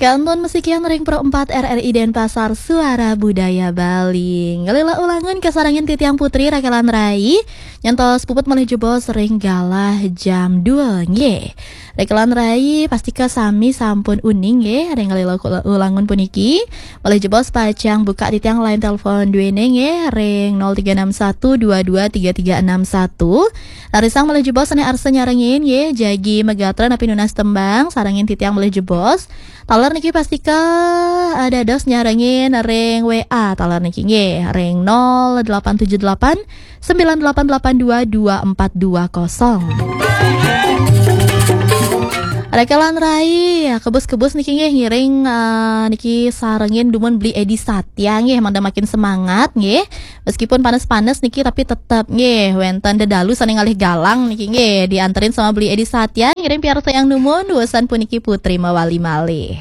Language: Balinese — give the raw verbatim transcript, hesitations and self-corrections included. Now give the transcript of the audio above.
Kantun masikian ring Pro empat R R I Denpasar, Suara Budaya Bali. Ngalila ulangun kasarengin titiang Putri, rakelan rai. Nyantos puput malih jebos ring galah jam dua nggih. Rakelan rai, pastika sami sampun uning nggih ring ngalila ulangun puniki. Malih jebos pacang buka titiang line telepon duene nggih ring nol tiga enam satu dua dua tiga tiga enam satu. Rarisang malih jebos sane arsa nyarengin nggih, jagi magatra napi nunas tembang, sarengin titiang malih jebos. Taler niki pastika, eh, dados nyarengin ring W A taler niki nggih, ring nol delapan tujuh delapan sembilan delapan delapan dua dua empat dua kosong. Rakelan rai, kebus-kebus niki nggih ngiring, eh, niki sarengin dumun Beli Edi Satya nggih, mangda makin semangat nggih. Meskipun panas-panas niki tapi tetep nggih wenten dedalu sane ngalih galang niki nggih, dianterin sama Beli Edi Satya ngiring piarsayang dumun, wusan puniki Putri mawali malih.